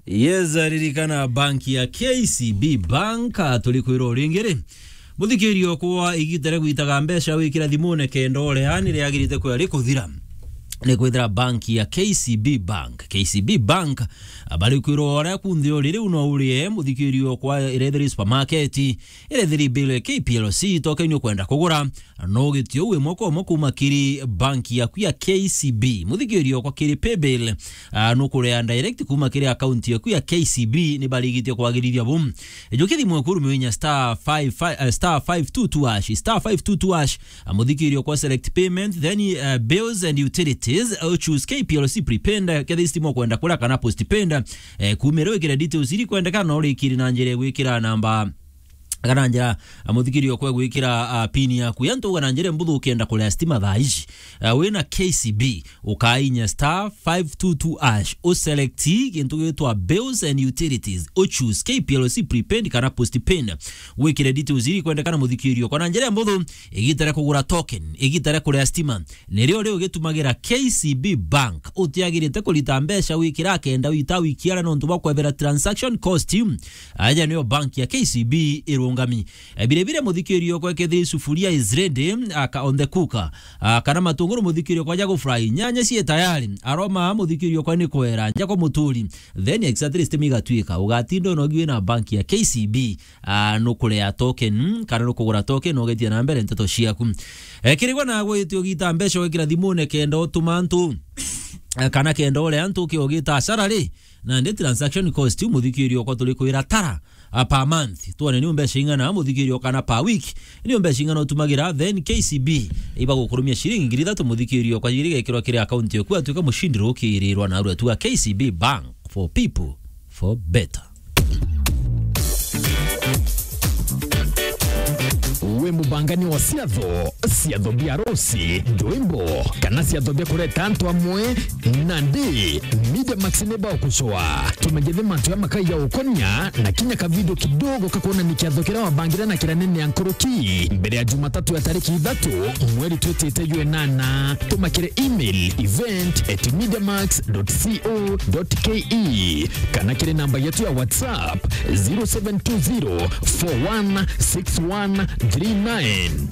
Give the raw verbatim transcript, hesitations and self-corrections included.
Yes, ririkana bank ya K C B Bank, ah, turi kwirwo ringi ri. Muthikirio kwa igita ria gwitaga mbeca wikira thimune kenda urea ni riagirite kwea rikuthira. Ni kwithira bank ya K C B Bank. K C B Bank, ah, bari kwirwo uria kunthe uri riu no urie muthikirio kwa irethiri supermarket, irethiri bill K P L C, token ukwenda kugura, no gitio wi mwaka umwe kuma kiri bank yaku ya K C B. Muthikirio kwa kiri paybill, ah, nukurea direct kuma kiri account yaku ya K C B, ni barigitio kwagirithia bu. Njuki thimu eku ruminya star five five, eh, star five two two hash, star five two two hash, ah, muthikirio kwa select payment, then, eh, bills and utilities, eh, choose K P L C prepaid, eh, kethira stima ukwenda kura kana postpaid, eh, kumira wikire details iri kwendeka, no urikiri na njira ya gwikira namba kana njira, ah, muthikirio kwa gwikira, ah, pin yaku. Yantu uga na njira mbuthu ukienda kurea stima thaa ici, ah, wina K C B, ukainya star five two two hash, u select gintu gitwa bills and utilities, u choose K P L C prepaid kana postpaid. Wikire details iri kwendekana muthikirio kwa na njira mbuthu, igita ria kugura token, igita ria kurea stima, nirio ri ugitumagira K C B Bank. Utiagirite kurita mbeca wikira kenda wita wikiara nontu bwa kwebera transaction cost. Aja niyo bank ya K C B irungami. E, bire bire muthikirio kwa kethiri sufuria is ready, aka on the cooker, ah, kana matunguru muthikirio kwa jago fry, nyanya cie tayari, aroma muthikirio kwa ni kwera, nja kwa muturi, then exactly stem igatuika, ugatinda unogiwe na bank ya K C B, ah, nukurea token, mm, kana nukugura token, ugetia na mbere nteto ciaku. E, kirigwa na gwitio gita mbeca wikira thimune kenda utuma antu, eh, kana kenda urea antu ukiogita salary, na ndi transaction cost, muthikirio kwa turi kwira tara, ah, per month. Tuone ni mbeca ing'ana muthikirio kana per week, ni mbeca ing'ana utumagira, then K C B ibagukurumia shilingi ngiri ithatu muthikirio kwa igiri gekirwa kiri account yaku, atuika mushindi rukirirwa na arua tu a K C B Bank for people for better. We mubangani wa ciatho, ciatho bia rosi, ndwimbo, kana ciatho bia kureta antu amwe, nandi Media Max ni bagucoa. Tumegethe mantu ya makai ya ukonia na kinya ka video kidogo kakuona ni kiatho kiria wabangire na kiria nene ya nkuruki mbere ya Jumatatu ya tariki ithatu mweri twitite jwe nana. Tuma kiri email event at mediamax dot co dot ke kana kiri namba yetu ya WhatsApp zero seven two zero four one six one three nine.